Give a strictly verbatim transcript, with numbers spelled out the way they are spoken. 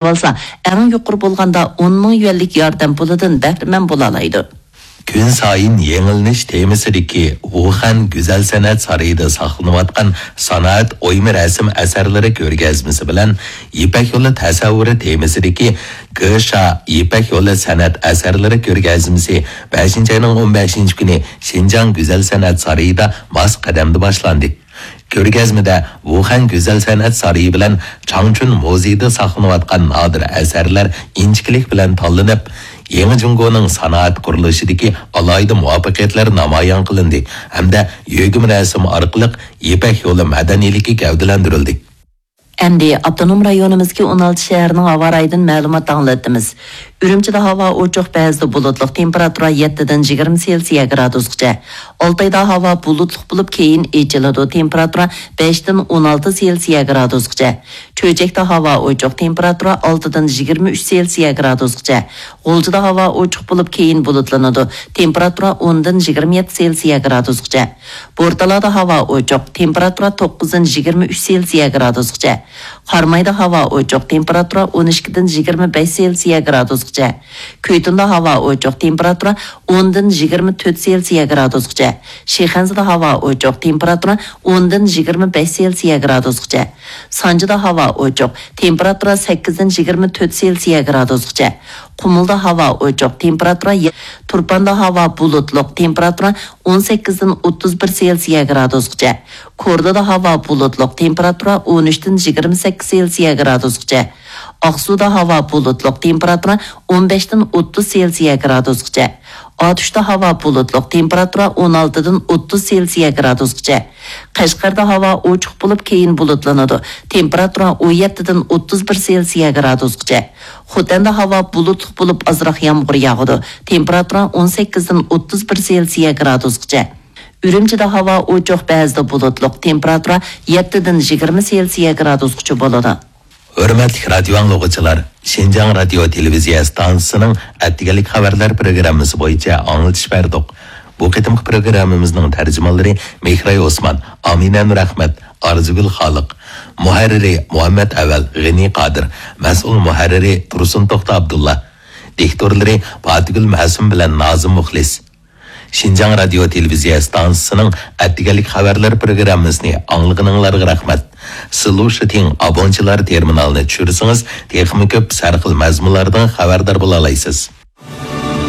ئالسا، ئەڭ يۇقىرى بولغاندا ئون مىڭ يۈەنلىك ياردەم پۇلىدىن بەھرىمەن بولالايدۇ. كۈن سايىن يېڭىلىنىش تېمىسىدىكى ۋۇخەن گۈزەل سەنئەت سارىيىدا ساقلىنىۋاتقان سانائەت ئويما رەسىم ئەسەرلىرى كۆرگەزمىسى بىلەن يىپەك يولى تەسەۋۋۇرى تېمىسىدىكى گېشا يىپەك يولى سەنئەت ئەسەرلىرى كۆرگەزمىسى بەشىنچى ئاينىڭ ئون بەشىنچى كۈنى شىنجاڭ گۈزەل سەنئەت سارىيىدا ماس قەدەمدە باشلاندى. كۆرگەزمىدە ۋۇخەن گۈزەل سەنئەت سارىيى بىلەن چاڭچۈن مۇزېيىدا ساقلىنىۋاتقان نادىر ئەسەرلەر ئىنچىكىلىك بىلەن تاللىنىپ، يېڭى جۇڭگونىڭ سانائەت قۇرۇلۇشىدىكى ئالاھىدە مۇۋەپپەقىيەتلەر نامايان قىلىندى ھەمدە يۆگىمە رەسىم ئارقىلىق يىپەك يولى مەدەنىيلىكى گەۋدىلەندۈرۈلدى. ئەمدى ئاپتونوم رايونىمىزدىكى ئون ئالتە شەھەرنىڭ ھاۋا رايىدىن مەلۇمات ئاڭلىتىمىز. ئۈرۈمچىدە ھاۋا ئوچۇق، بەزىدە بۇلۇتلۇق، تېمپېراتۇرا يەتتىدىن يىگىرمە سېلسىيە گرادۇسقىچە. ئالتايدا ھاۋا بۇلۇتلۇق بولۇپ، كېيىن ئېچىلىدۇ، تېمپېراتۇرا بەشتىن ئون ئالتە سېلسىيە گرادۇسقىچە. چۆچەكتە ھاۋا ئوچۇق، تېمپېراتۇرا ئالتىدىن يىگىرمە ئۈچ سېلسىيە گرادۇسقىچە. غۇلجىدا ھاۋا ئوچۇق بولۇپ، كېيىن بۇلۇتلىنىدۇ، تېمپېراتۇرا ئوندىن يىگىرمە يەتتە سېلسىيە گرادۇسقىچە. بورتالادا ھاۋا ئوچۇق، تېمپېراتۇرا توققۇزدىن يىگىرمە ئۈچ سېلسىيە گرادۇسقىچە. قارامايدا ھاۋا ئوچۇق، تېمپېراتۇرا ئون ئىككىدىن يىگىرمە بەش سېلسىيە گرادۇسقىچە. كۆيتۈندا ھاۋا ئوچۇق، تېمپېراتۇرا ئوندىن يىگىرمە تۆت سېلسىيە گرادۇسقىچە. شىخەنزىدە ھاۋا ئوچۇق، تېمپېراتۇرا ئوندىن يىگىرمە بەش سېلسىيە گرادۇسقىچە. سانجىدا ھاۋا ئوچۇق، تېمپېراتۇرا سەككىزدىن يىگىرمە تۆت سېلسىيە گرادۇسقىچە. قۇمۇلدا ھاۋا ئوچۇق، تېمپېراتۇرا يە-، تۇرپاندا ھاۋا بۇلۇتلۇق، تېمپېراتۇرا ئون سەككىزدىن ئوتتۇز بىر سېلسىيە گرادۇسقىچە. كورلىدا ھاۋا بۇلۇتلۇق، تېمپېراتۇرا ئون ئۈچتىن يىگىرمە سەككىز سېلسىيە گرادۇسقىچە. ئاقسۇدا ھاۋا بۇلۇتلۇق، تېمپېراتۇرا ئون بەشتىن ئوتتۇز سېلسىيە گرادۇسقىچە. ئاتۇشتا ھاۋا بۇلۇتلۇق، تېمپېراتۇرا ئون ئالتىدىن ئوتتۇز سېلسىيە گرادۇسقىچە. قەشقەردە ھاۋا ئوچۇق بولۇپ، كېيىن بۇلۇتلىنىدۇ، تېمپېراتۇرا ئون يەتتىدىن ئوتتۇز بىر سېلسىيە گرادۇسقىچە. خوتەندە ھاۋا بۇلۇتلۇق بولۇپ، ئازراق يامغۇر ياغىدۇ، تېمپېراتۇرا ئون سەككىزدىن ئوتتۇز بىر سېلسىيە گرادۇسقىچە. ئۈرۈمچىدە ھاۋا ئوچۇق، بەزىدە بۇلۇتلۇق، تېمپېراتۇرا يەتتىدىن يىگىرمە سېلسىيە گرادۇسقىچە بولىدۇ. ھۆرمەتلىك رادىيو ئاڭلىغۇچىلار، شىنجاڭ رادىيو تېلېۋىزىيە ئىستانسىسىنىڭ ئەتىگەنلىك خەۋەرلەر پروگراممىسى بويىچە ئاڭلىتىش بەردۇق. بۇ قېتىمقى پروگراممىمىزنىڭ تەرجىمانلىرى مېھراي ئوسمان، ئامىنە نۇرئەخمەت، ئارزۇگۈل خالىق، مۇھەررىرى مۇھەممەت ئەۋەل، غېنى قادىر، مەسئۇل مۇھەررىرى تۇرسۇن توختى ئابدۇللا، دىكتورلىرى پاتىگۈل مەسۇم بىلەن نازىم مۇخلىس. شىنجاڭ رادىيو تېلېۋىزىيە ئىستانسىسىنىڭ ئەتىگەنلىك خەۋەرلەر پروگراممىسىنى ئاڭلىغىنىڭلارغا رەھمەت. سىلۇشىتىڭ ئابونچىلار تېرمىنالىنى چۈشۈرسىڭىز، تېخىمۇ كۆپ سەرخىل مەزمۇنلاردىن خەۋەردار بولالايسىز.